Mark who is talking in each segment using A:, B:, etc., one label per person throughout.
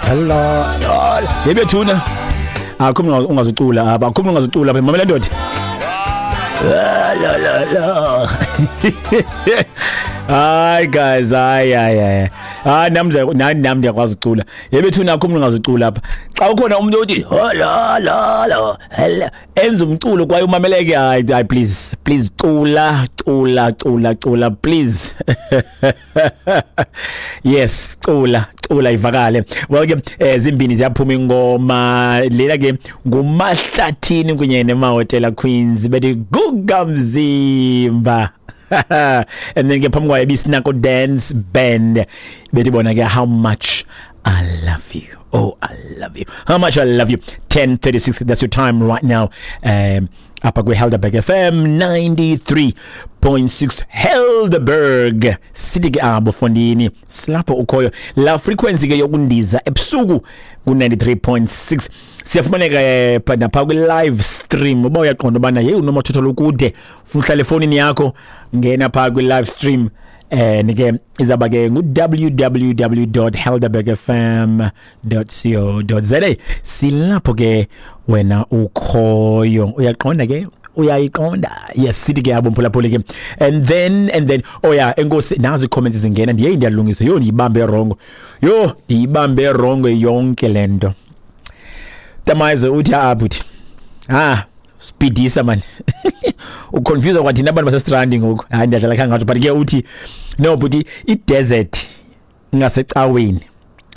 A: La la. Yebethuna. Akho ungazucula apha, akho ungazucula apha. Mamela ndoda. La la la la. Hayi guys, hayi hayi hayi. Hayi nami nani nami ndiyakwazi ucula. Yebethuna akho ungazucula apha. Xa ukhona umuntu othi la la la hela enza umculo kwaye umameleke, hayi hayi, please please, cula cula cula cula please. Yes, cula cula ivakale. Well ke zimbini ziyaphuma ingoma lena ke, nguMahlathini kunye neMahotella Queens, bethi "Guga Mzimba". And then ke phambi kwayo ibiSinako Dance Band, bethi bona ke "How Much I Love You". Oh, I love you, how much I love you. 10:36, that's your time right now, apha kwi-Helderberg FM 93.6, Helderberg City ke abo fondini, silapho ukhoyo la frequency ke yokundiza ebusuku ku-93.6. Siyafumaneka napha kwi-live stream. Uba uyaqonda ubana yeyi, unomathotholo ukude, ufuna uhlala efowunini yakho, ngena phaa kwi-live stream and ke izaba ke ngu-www.helderbergfm.co.za. Silapho ke wena ukhoyo, uyaqonda ke, uyayiqonda. Yes, sithi ke abo mphulaphuli ke. And then oh yeah, enkosi, nazi ii-comments zingena. Ndiye ndiyalungisa. Yho, ndiyibambe wrong, yho, ndiyibambe wrong yonke le nto. Tamayizo uthi apha, uthi ah, speedisa man, uconfuse kwathina abantu basestrandi ngoku. Hayi, ndiyadlala khangatsho, but ke uthi no but i-desert ngasecaweni.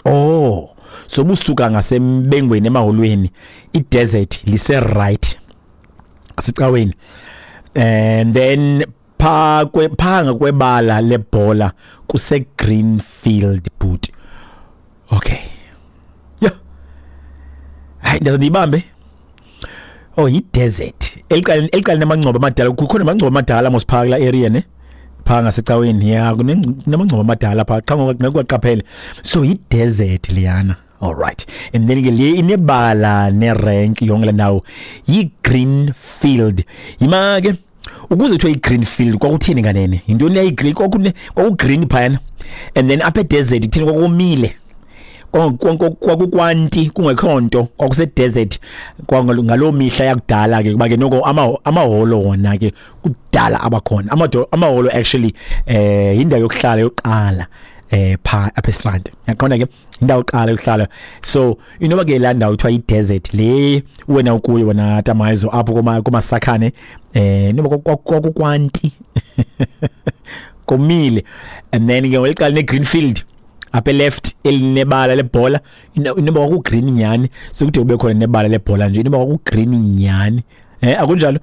A: Oh, so busuka ngasembengweni emaholweni, i-desert lise right ngasecaweni, and then pha kwe phanga kwebala lebhola kuse Greenfield boot. Okay, yeah, hayi, ndiyibambe. Oh, yi-desert elicala namangcwaba amadala. Kukhona amangcwaba amadala mos phaa kula area ne, phaa ngasecaweni ya, kunamangcwaba amadala phaa qha ngoku ngeke. So yi-desert leyana, all right. And then ke le inebala nerank yonke le ndawo yi-Greenfield. Yima ke, ukuze kuthiwe i-Greenfield kwakuthini kanene? Yintoni leyo green? Kwakune kwakugreen phayana, and then apha edesert ithini? Kwakomile, kwakukwanti, kungekho nto, kwakuse-desert ngaloo mihla yakudala ke. Kuba ke noko amaholo wona ke kudala abakhona. Amaholo actually indawo yokuhlala yokuqala pha apha eStrand, yaqonda ke, indawo yokuqala yokuhlala. So inoba ke laa ndawo kuthiwa i-desert le wena ukuyo wena Tamayizo apho komasakhane, noba kwakukwanti, komile. And then ke ngeliqala ne-Greenfield apha left elinebala lebhola, inoba kwaku-green nyani. Sekude kube khona nebala lebhola nje, inoba kwaku-green nyani. Akunjalo?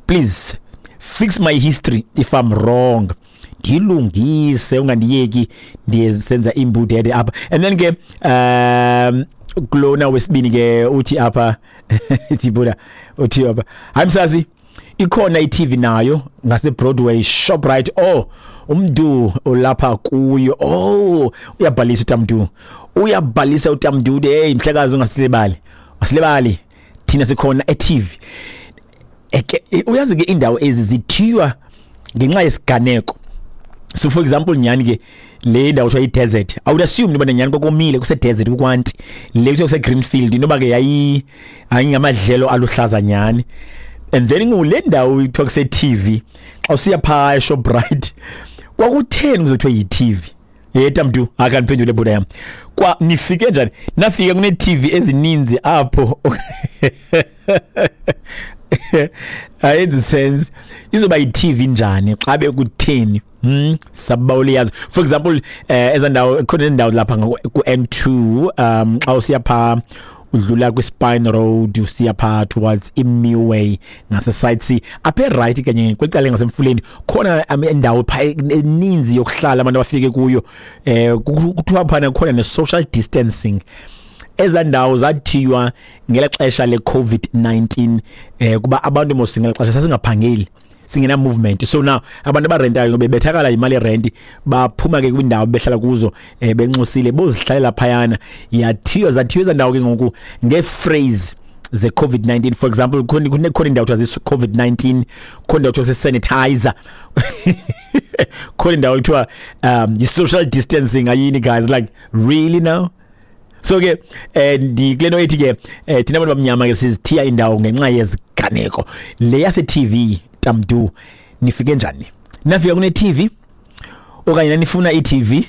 A: Please fix my history if I'm wrong, ndilungise, ungandiyeki ndiyenza imbudede apha. And then ke kulona wesibini ke uthi apha, Thibula uthi apha, hayi msazi, ikhona iTV nayo ngase Broadway Shoprite. Oh, umntu olapha kuyo. Oh, uyabhalisa uTamdu, uyabhalisa uTamdu. Hey mhlekazi, ungasilibali, asilibali thina, sikhona eTV. Eke uyazi ke, indawo ezi zithiywa ngenxa yesiganeko. So for example, nyani ke le ndawo kuthiwa i-desert, I would assume noba nyani kokomile, kuse-desert, kukwanti. Le kuthiwa kuse-Greenfield, inoba ke yayi ayingamadlelo aluhlaza nyani. And then ngule ndawo kuthiwa kuse-TV xa usiya phaa eShoprite, kwakutheni kuzothiwa yi-TV? Yeta mntu akandiphendule bhuda yam, kwa nifike njani, nafika kune-TV ezininzi apho? Ayenzi sense. Izoba yi-TV njani xa bekutheni? Sabawuliyazi. For example, ezandawo khona indawo lapha ku N2, xa usiya pha, udlula kwi-Spine Road, usiya pha towards iMiway ngase side C, apha right kanye kwecala ngasemfuleni, khona indawo pha eninzi yokuhlala abantu abafike kuyo. Kuthiwa phana khona ne social distancing. Ezandawo zathiywa ngela xesha le-COVID-19, kuba abantu mos ngela xesha sasingaphangeli, singena movement. So now abantu abarentayo bebethakala imali yerent, baphuma ke kwindawo behlala kuzo, benxusile bozihlalela phayana. Yathiywa, zathiywa ezandawo ke ngoku ngephrase ze COVID-19. For example, khona indawo kuthiwa COVID-19, khona indawo kuthiwa sanitizer, khona indawo kuthiwa yi social distancing. Ayini guys, like really now? So ke ndikule nto ethi ke thina bantu bamnyama ke sizithiya indawo ngenxa yeziganeko. Le yase TV tamdu, nifike njani? Nafika kune TV okanye nanifuna i-TV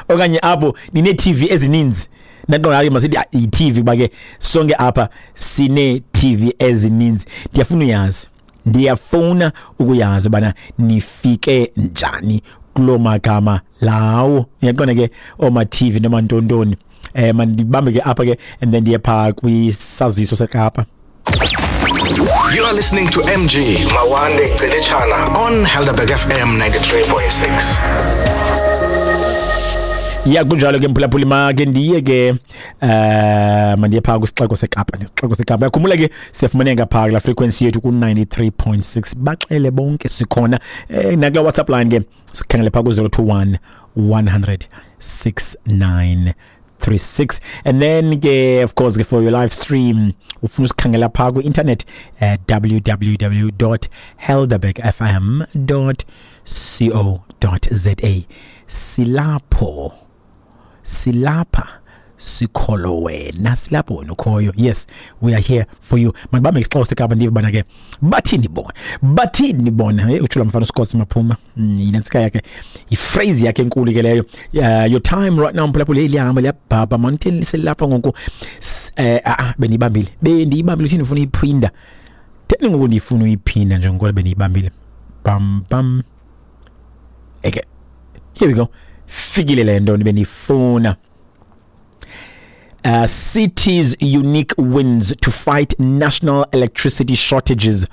A: okanye apho nine TV ezininzi? Naqonda ke masithi i-TV kuba ke sonke apha sine TV ezininzi. Ndiyafuna uyazi, ndiyafuna ukuyazi bana nifike njani kuloo magama lawo. Uyaqonda ke, oma TV noma ntontoni. Mandibambe ke apha ke and then ndiye phaa kwisaziso seKapa.
B: You are listening to MG Mawande Celichana on Helderberg FM 93.6.
A: Ya, kunjalo ke mphulaphuli, make ndiye ke mandiye phaa kwisixeko seKapa, isixeko seKapa. Yakhumbula ke siyafumaneka phaa kula frequency yethu ku-93.6. Baxele bonke sikhona. Nakula WhatsApp line ke sikhangele phaa ku-021 100 69 36. And then ke of course ke for your live stream, ufuna usikhangela phaa kwi-internet, www.helderbergfm.co.za. Silapho, silapha, sikholo wena, silapho wena ukhoyo. Yes, we are here for you. Mandibambe isixeko seKapa, ndive bana ke bathini bona, bathini bona. Hey, utshula mfana uScott Maphuma. Yinantsika yakhe, i-phrase yakhe enkulu ke leyo. Your time right now, mphulaphula, liyahamba, liyabhabha manitheni, selapha ngoku. Bendiyibambile, bendiyibambile. Uthini, ufuna uyiphinda theni ngoku? Ndiyifuna uyiphinda njengoba bendiyibambile. Bam bam, eke, here we go, fikile le nto bendiyifuna. Cities unique wins to fight national electricity shortages.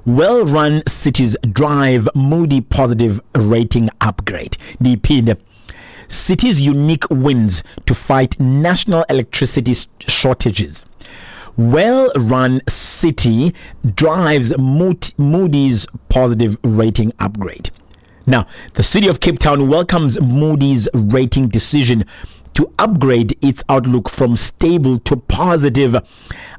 A: Well-run cities drive Moody positive rating upgrade. Ndiyiphinde. Cities unique wins to fight national electricity shortages. Well-run city drives Moody's positive rating upgrade. Now, the city of Cape Town welcomes Moody's rating decision to upgrade its outlook from stable to positive,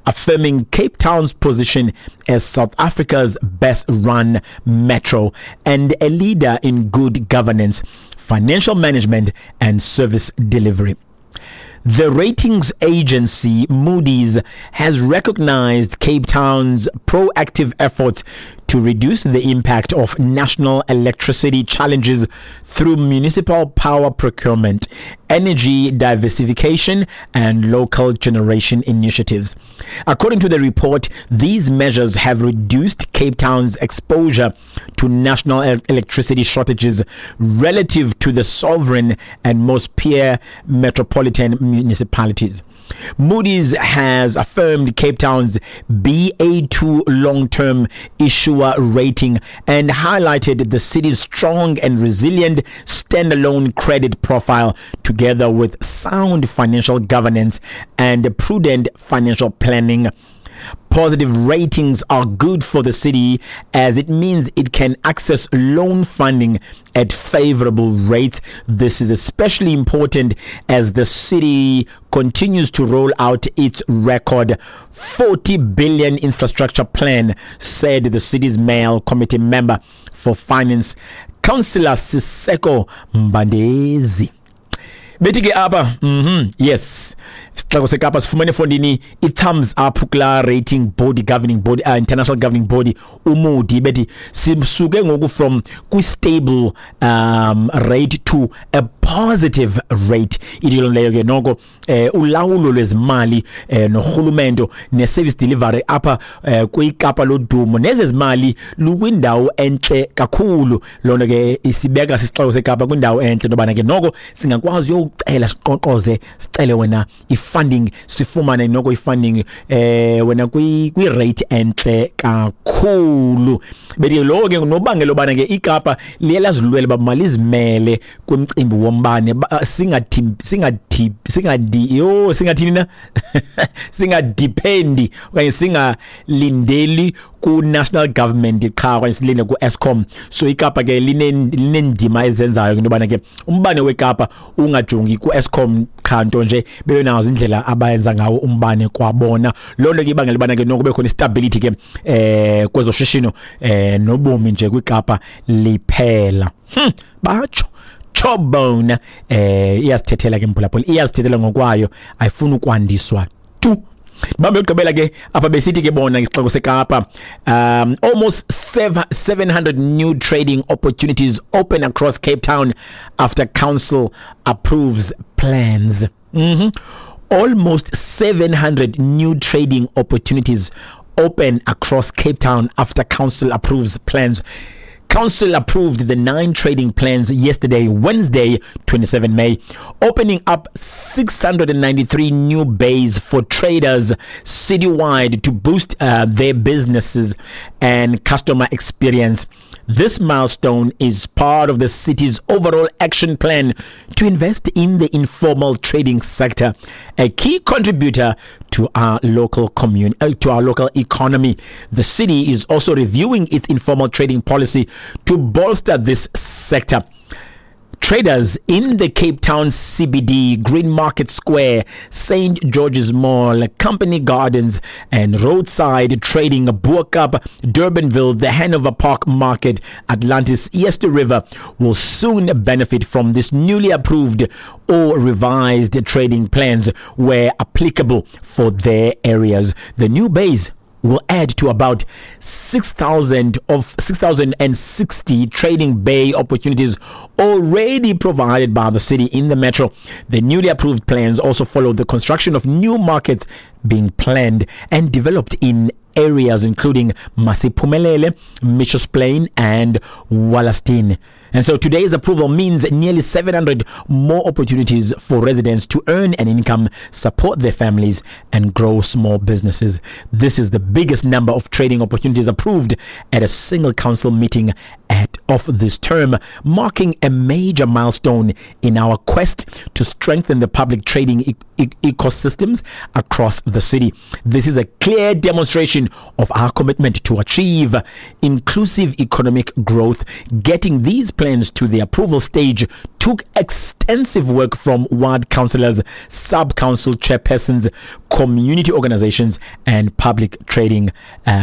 A: affirming Cape Town's position as South Africa's best run metro and a leader in good governance, financial management, and service delivery. The ratings agency Moody's has recognized Cape Town's proactive efforts to reduce the impact of national electricity challenges through municipal power procurement, energy diversification, and local generation initiatives. According to the report, these measures have reduced Cape Town's exposure to national electricity shortages relative to the sovereign and most peer metropolitan municipalities. Moody's has affirmed Cape Town's BA2 long-term issuer rating and highlighted the city's strong and resilient standalone credit profile, together with sound financial governance and prudent financial planning. Positive ratings are good for the city as it means it can access loan funding at favorable rates. This is especially important as the city continues to roll out its record 40 billion infrastructure plan, said the city's mayor committee member for finance, Councillor Siseko Mbandezi. Bethi ke apha, yes, sixeko seKapa sifumene fondini i-thumbs up kula rating body, governing body, international governing body uMoody. Bethi sisuke ngoku from kwi-stable rate to a positive rate. Ithi loo leyo ke noko ulawulo lwezimali norhulumento ne-service delivery apha kwiKapa lodumo nezezimali lukwindawo entle kakhulu. Loo nto ke isibeka sisixeko seKapa kwindawo entle intobana ke noko singakwazi uyowucela, siqoqoze, sicele wena i-funding, sifumane noko i-funding wena kwi-rate entle kakhulu. Bethi lo ke nobangela obana ke iKapa liye lazilwela uba malizimele kwimcimbi wombane, singathi singathi singadi yo singathini na, singadependi okanye singalindeli ku-national government qha okanye silinde ku-Eskom. So iKapa ke linendima ezenzayo into yobana ke umbane weKapa ungajongi ku-Eskom qha, nto nje bebe nazo indlela abayenza ngawo umbane kwabona. Loo nto ke ibangela ubana ke noko kube khona istability ke kwezoshishino nobomi nje kwiKapa liphela. Batsho tsho. Chobone iyasithethela ke mphulaphula, iyasithethela ngokwayo, ayifuni ukwandiswa tu. Bambe ugqibela ke apha besithi ke bona isixeko seKapa, almost 700 new trading opportunities open across Cape Town after council approves plans. Almost 700 new trading opportunities open across Cape Town after council approves plans. Council approved the 9 trading plans yesterday, Wednesday, 27 May, opening up 693 new bays for traders citywide to boost their businesses and customer experience. This milestone is part of the city's overall action plan to invest in the informal trading sector, a key contributor to our local to our local economy. The city is also reviewing its informal trading policy to bolster this sector. Traders in the Cape Town CBD, Green Market Square, St. George's Mall, Company Gardens, and roadside trading, Bo-Kaap, Durbanville, the Hanover Park Market, Atlantis, Eerste River will soon benefit from this newly approved or revised trading plans where applicable for their areas. The new base will add to about 6,000 of 6,060 trading bay opportunities already provided by the city in the metro. The newly approved plans also follow the construction of new markets being planned and developed in areas including Masiphumelele, Mitchells Plain and Wallerstein. And so today's approval means nearly 700 more opportunities for residents to earn an income, support their families, and grow small businesses. This is the biggest number of trading opportunities approved at a single council meeting of this term, marking a major milestone in our quest to strengthen the public trading ecosystems across the city. This is a clear demonstration of our commitment to achieve inclusive economic growth. Getting these plans to the approval stage took extensive work from ward councillors, sub-council chairpersons, community organizations, and public trading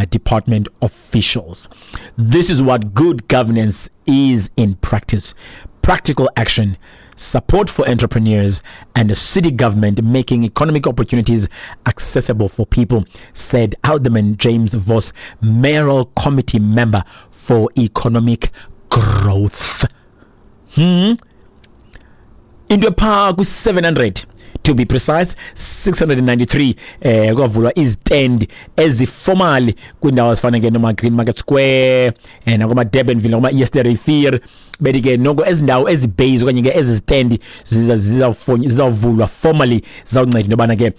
A: department officials. This is what good governance is in practice. Practical action, support for entrepreneurs, and a city government making economic opportunities accessible for people, said Alderman James Voss, mayoral committee member for economic growth. Into phaa kwi-700, to be precise 693, kwavulwa izi-stand ezi-formal kwiindawo ezifana ke noma Green Market Square, nakoma Durbanville, nakoma Eerste Rivier. Bethi ke noko ezi ndawo, ezi bays okanye ke ezi stand zizawuvulwa formally, zizawunceda into yobana ke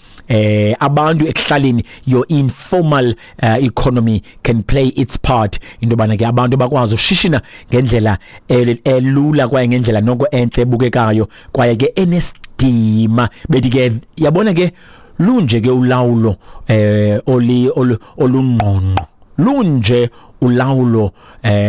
A: abantu ekuhlaleni, your informal economy can play its part into yobana ke abantu bakwazi ushishina ngendlela elula kwaye ngendlela noko entle ebukekayo kwaye ke enesidima. Bethi ke yabona ke lunje ke ulawulo oli olungqongqo, lunje ulawulo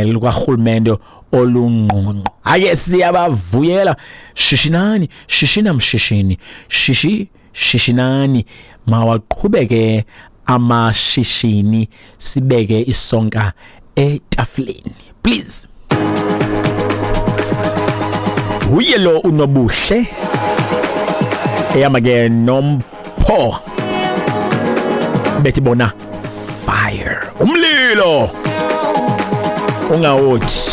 A: lukarhulumente olungqongqo. Hayi, siyabavuyela, shishinani, shishina mshishini, shishi shishinani, mawaqhubeke amashishini, sibeke isonka etafuleni, please. Uye lo unobuhle eyama ke nompho, bethi bona fire, umlilo ungawothi.